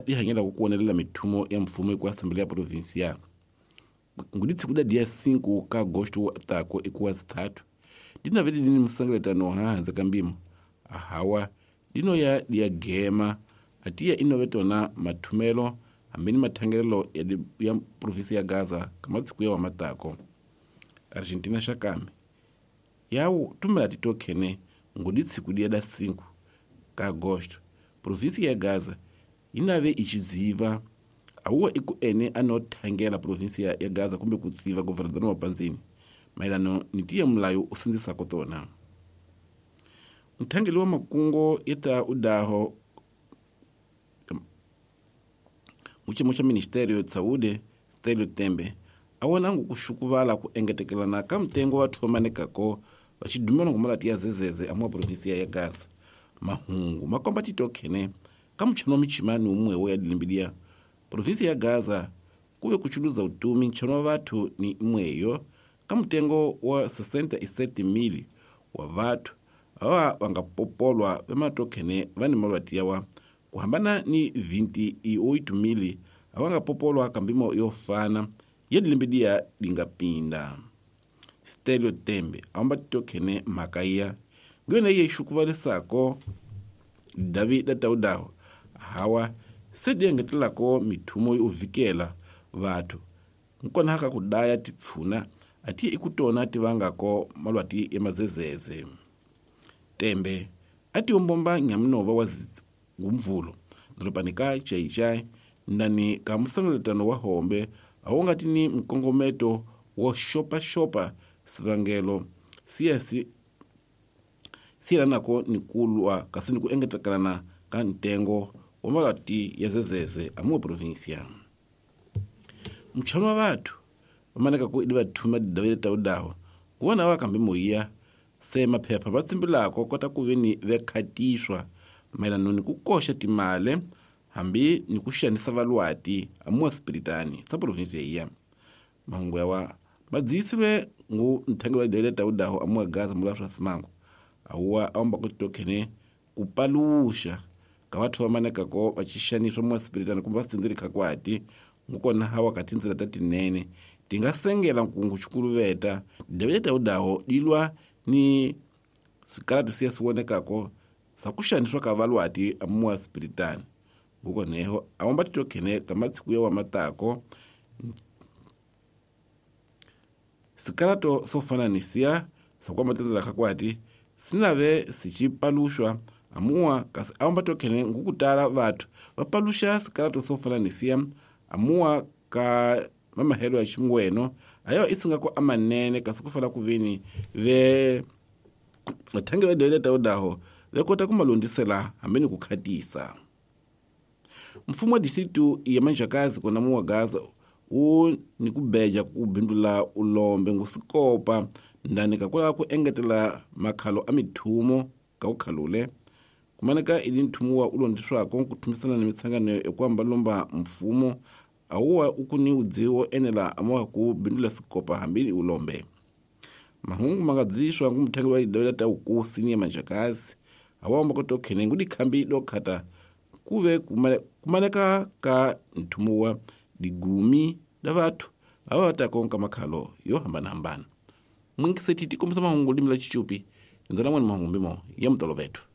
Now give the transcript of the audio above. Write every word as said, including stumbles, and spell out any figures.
dihanyela ku kuonelela mithumo ya mfumo ku Assembleia Provincial nguditsi kuda dia cinco ka agosto tako ikuwa zitatu dinavele dini msangeletano hahanze kambimo ahawa dino ya dia gema atiya inovetona mathumelo hambeni mathangelelo ya, ya provinsi ya Gaza kamatsiku ya wamatako Argentina xakame yawu tumela titokhene nguditsi kudia da cinco ka agosto provinsi ya Gaza inave ichiziva awuwa iku ene anothangela provinsi ya, ya Gaza kumbe kutsiva governador wa Panzini maelano nitiya mulayo usinzisako tona mthangeli wa makungo yeta udaho muchimo cha ministério de saúde Stelio Tembe awona ngukushukuvala ku engetekelana ka mtengo wa thomanekako vachidumela ngumalati ya zezeze amwa provinsia ya Gaza mahungu makomba titokhene ka mchano michimani umwewo ya dilimbilia provinsia ya Gaza kuve kuchuluza utumi nchano wa vathu ni imweyo ka mtengo wa sessenta e sete mil wa vathu awa vangapopolwa vematokhene vani malwati yawa kuhambana ni vinte e oito mil avangapopolwa kambimo yofana yedilimbidia dingapinda Stelio Tembe amba titokhene mhaka iya ngiyona iye ixukuvalisako David Taudaho hawa sediengetelako mithumo yovikela vathu nkona haka kudaya titshuna atiye ikutona tivangako malwati ya mazezeze Tembe ati ombomba nyamunova wa ngumvulo doropani ka Chaichai ndani ka musangeletano wa hombe awongati ni mkongometo wo xopaxopa sivangelo siyasi siyelanako ni kulwa kasi ni ku engetekelana ka ntengo wa malwati ya zezeze amuwa provinsia mchano wa vathu vamaneka ku idi vathuma didavele taudaho kuvona wa kambe moyiya se maphepha va tsimbilako kota ku ve ni vekhatiswa mayelano ni ku koxa timale hambi ni ku xanisa valwati amuwa spiritani sa provinsia iya mahungu yawa madziyisilwe ngu nthangelo wa didavele taudaho amuwa Gaza mula swa simango awuwa awamba ku titokhene ku paluxa ka vathu vamanekako va xixaniswa muwa spiritani kumbe va sindzeli khakwati ngukona hawa ka tindzela ta tinene ti nga sengela nkungu xikuluveta didavele taudaho dilwa ni swikaratu siya swi vonekako sa ku xaniswa ka valwati amuwa spiritani ngukoneho awamba titokhene ka matsiku ya wamatako sikalato swo fana ni siya swa kwamba tindzela khakwati sinave sichipaluxwa amuwa kasi awamba tokhene ngukutala vathu va paluxa sikalato swo fana ni siya amuwa ka mamahelo ya xingweno ayawa isingako amanene kasi ku fana ku veni ve vathangi va dele taudaho ve kota ku malundisela hambi ni ku khatisa mfumo wa distritu ya Manjakazi kona muwa Gaza wu ni ku beja ku bindula ulombe ngusikopa ndani ka kulava ku engetela makhalo a mithumo ka ku khalule kumaneka ili nthumo wa ulondiswako ku thumisana ni mitsangano ya ku ambalomba mfumo awuwa ukuni udziwo enela amuwa ku bindula sikopa hambi ulombe mahungu mangadziswa ngu muthangi wa idawela ta ukusi ni ya Manjakazi awamba kutokhene ngudikhambi dokhata kuve kumaneka ka nthumo wa digumi da vathu ava vatakonka makhalo yo hambanahambana mwingiseti tikombisa mahungu limi la chichupi ndzana mwani mahungu mbimo ya mutolovethu.